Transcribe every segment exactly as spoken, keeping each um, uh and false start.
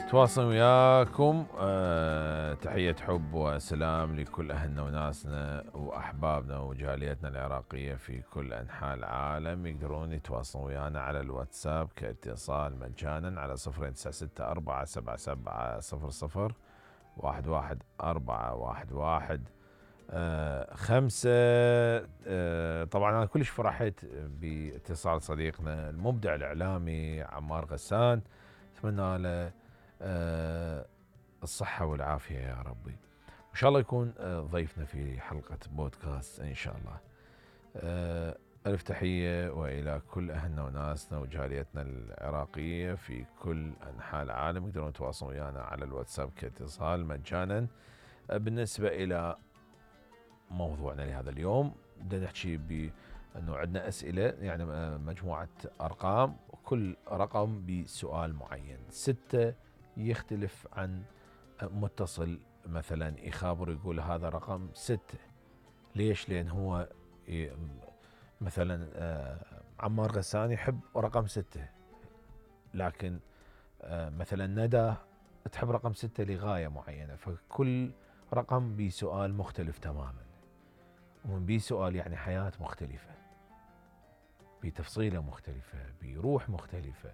تواصل وياكم. أه تحية حب وسلام لكل أهلنا وناسنا وأحبابنا وجاليتنا العراقية في كل أنحاء العالم. يقدرون يتواصلون ويانا على الواتساب كاتصال مجانا على صفرين تسعة ستة أربعة سبعة سبعة صفر صفر واحد واحد أربعة واحد واحد أه خمسة. أه طبعا أنا كلش فرحت باتصال صديقنا المبدع الإعلامي عمار غسان، أتمنى له أه الصحة والعافية يا ربي، إن شاء الله يكون أه ضيفنا في حلقة بودكاست إن شاء الله. أه ألف تحية وإلى كل أهلنا وناسنا وجاليتنا العراقية في كل أنحاء العالم. يقدرون يتواصلون ويانا على الواتساب كاتصال مجانا. أه بالنسبة إلى موضوعنا لهذا اليوم بدنا نحكي بأنه عندنا أسئلة، يعني مجموعة أرقام، كل رقم بسؤال معين. ستة يختلف عن متصل مثلا يخابر يقول هذا رقم ستة. ليش؟ لأن هو مثلا عمار غسان يحب رقم ستة، لكن مثلا ندى تحب رقم ستة لغاية معينة، فكل رقم بسؤال مختلف تماما، ومن بي سؤال يعني حياة مختلفة بتفصيلة مختلفة بروح مختلفة.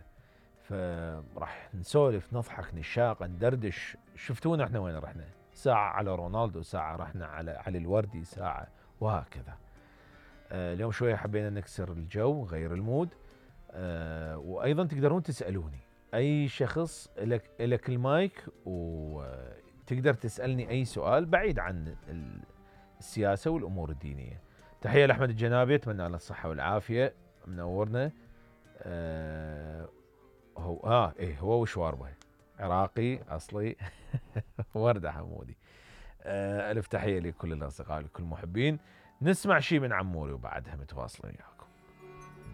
فراح نسولف نضحك نشاق ندردش. شفتونا احنا وين رحنا، ساعة على رونالدو، ساعة رحنا على علي الوردي، ساعة وهكذا. آه اليوم شوية حبينا نكسر الجو غير المود. آه وأيضا تقدرون تسألوني أي شخص، لك لك المايك وتقدر تسألني أي سؤال بعيد عن السياسة والأمور الدينية. تحية لأحمد الجنابي، أتمنى له الصحة والعافية، منورنا. آه هو اه ايه هو وشواربه عراقي اصلي وردة حمودي. آه الف تحية لكل الاصدقاء لكل المحبين. نسمع شي من عموري وبعدها متواصلين.